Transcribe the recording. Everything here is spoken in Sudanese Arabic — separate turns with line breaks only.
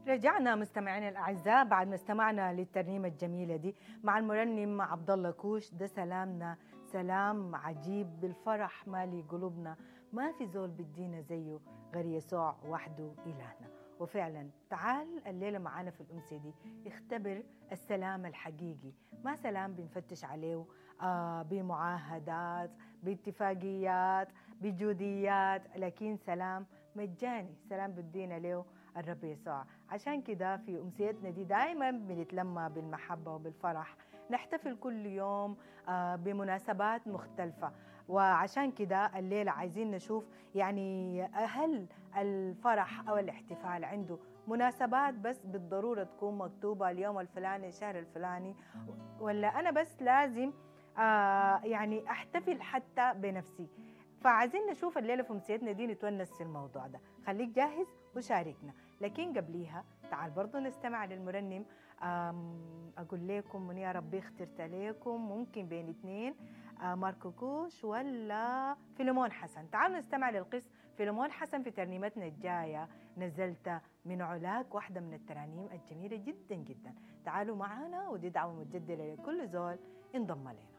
رجعنا مستمعينا الاعزاء بعد ما استمعنا للترنيمه الجميلة دي مع المرنم عبد الله كوش. ده سلامنا، سلام عجيب بالفرح مالي قلوبنا، ما في زول بدينا زيه غير يسوع وحده الهنا. وفعلا تعال الليلة معانا في الامسيه دي اختبر السلام الحقيقي، ما سلام بنفتش عليه بمعاهدات، باتفاقيات، بجوديات، لكن سلام مجاني، سلام بدينا له الرب يسوع. عشان كده في أمسيتنا دي دايما بنتلمى بالمحبة وبالفرح، نحتفل كل يوم بمناسبات مختلفة. وعشان كده الليلة عايزين نشوف يعني هل الفرح أو الاحتفال عنده مناسبات بس بالضرورة تكون مكتوبة اليوم الفلاني الشهر الفلاني، ولا أنا بس لازم يعني أحتفل حتى بنفسي؟ فعايزين نشوف الليلة في أمسيتنا دي نتونس في الموضوع ده. خليك جاهز وشاركنا، لكن قبليها تعال برضو نستمع للمرنم. أقول لكم من يا ربي اخترت لكم، ممكن بين اثنين، ماركو كوش ولا فيلمون حسن. تعالوا نستمع للقس فيلمون حسن في ترنيمتنا الجاية نزلت من علاك، واحدة من الترانيم الجميلة جدا جدا. تعالوا معنا، ودي دعوة متجددة لكل زول انضم لنا.